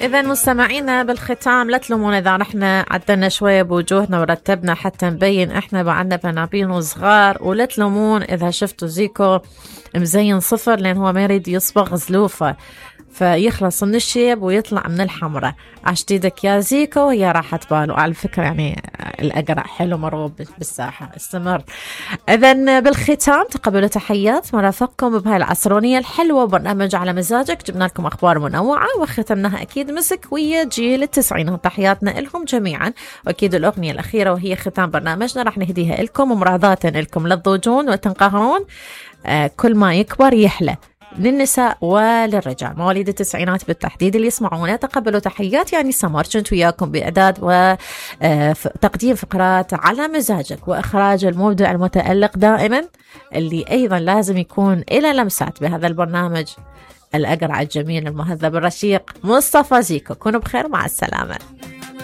إذا مستمعينا بالختام لا تلومونا إذا رحنا عدلنا شوية بوجوهنا ورتبنا حتى نبين إحنا بعدنا بنابين وصغار، ولا تلومون إذا شفتوا زيكو مزين صفر لأن هو ما يريد يصبغ زلوفة فيخلص من الشيب ويطلع من الحمرة. عشت ايدك يا زيكو وهي راحة باله. على فكرة يعني الأقرع حلو مرغوب بالساحة. استمر. إذن بالختام تقبلوا تحيات مرافقكم بهاي العصرونية الحلوة، برنامج على مزاجك. جبنا لكم أخبار منوعة وختمناها أكيد مسك ويا جيل التسعينات. تحياتنا لهم جميعا، وأكيد الأغنية الأخيرة وهي ختام برنامجنا راح نهديها لكم ومراضاة لكم لا تضوجون وتنقهرون. كل ما يكبر يحلى للنساء وللرجال. مواليد التسعينات بالتحديد اللي يسمعونا تقبلوا تحيات. يعني سمر كنت وياكم بإعداد وتقديم فقرات على مزاجك وإخراج المبدع المتألق دائما اللي أيضا لازم يكون إلى لمسات بهذا البرنامج الأقرع الجميل المهذب الرشيق مصطفى زيكو. كونوا بخير، مع السلامة.